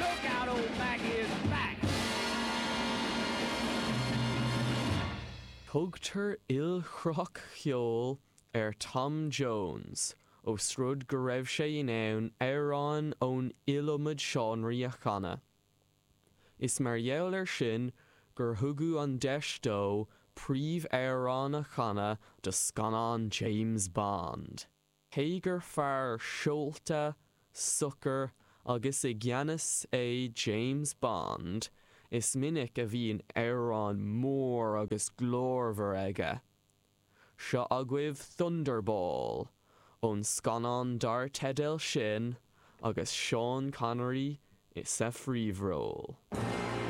Look out, old Mac is back! Tugtar ilchruthach cheoil ar Tom Jones ós rud go raibh sé in ann amhráin ón iliomad seánraí a chanadh. Is mar gheall air sin gur thugadh an deis dó príomhamhrán a chanadh do scannán James Bond. Cé gur fear seolta, socair agus i gceannas é James Bond, is minic a bhíonn amhrán mór agus glórmhar aige. Seo agaibh Thunderball ón scannán dar teideal sin agus Sean Connery sa phríomhról.